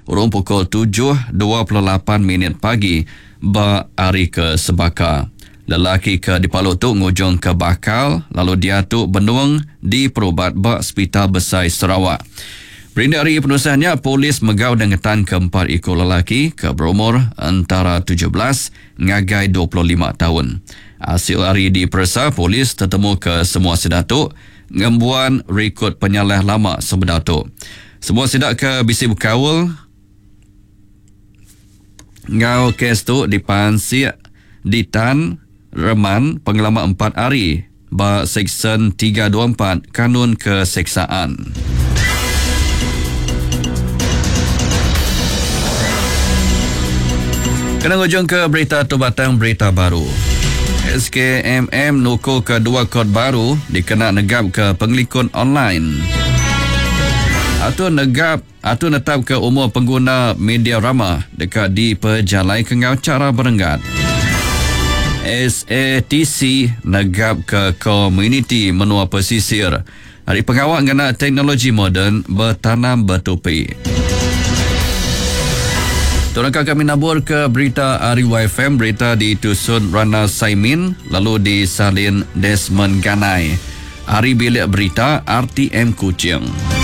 urung pukul tujuh 28 minit pagi ba hari ke sebaka. Lelaki ke dipalu tu ngujungka bakal lalu diatu benung diperubat ba Sepital Besai Sarawak. Berindik ari penusah nya, polis mega udah ngetanka empat iku lelaki ke berumur entara 17 ngagai 25 taun. Asil ari diperesa, polis tetemuka semua sida tu ngembuan rikod penyalah lama sebedau tu. Semua sida ke bisi bekaul enggau kes tu dipansik ditan reman pengelama empat hari ba Seksyen 324 Kanun Keseksaan. Kena ngujungka berita tu batang berita baru. SKMM nukuka dua kod baru dikena negapka pengelikun online. Atur negap Atur netapka umur pengguna media rama deka dipejalaika enggau chara berenggat. SATC negapka komuniti menua pesisir ari pengawa ngena teknologi moden betanam betupi. Tu naka kami naburka berita ari YFM, berita ditusun Rana Saimin lalu disalin Desmond Ganai ari Bilik Berita RTM Kuching.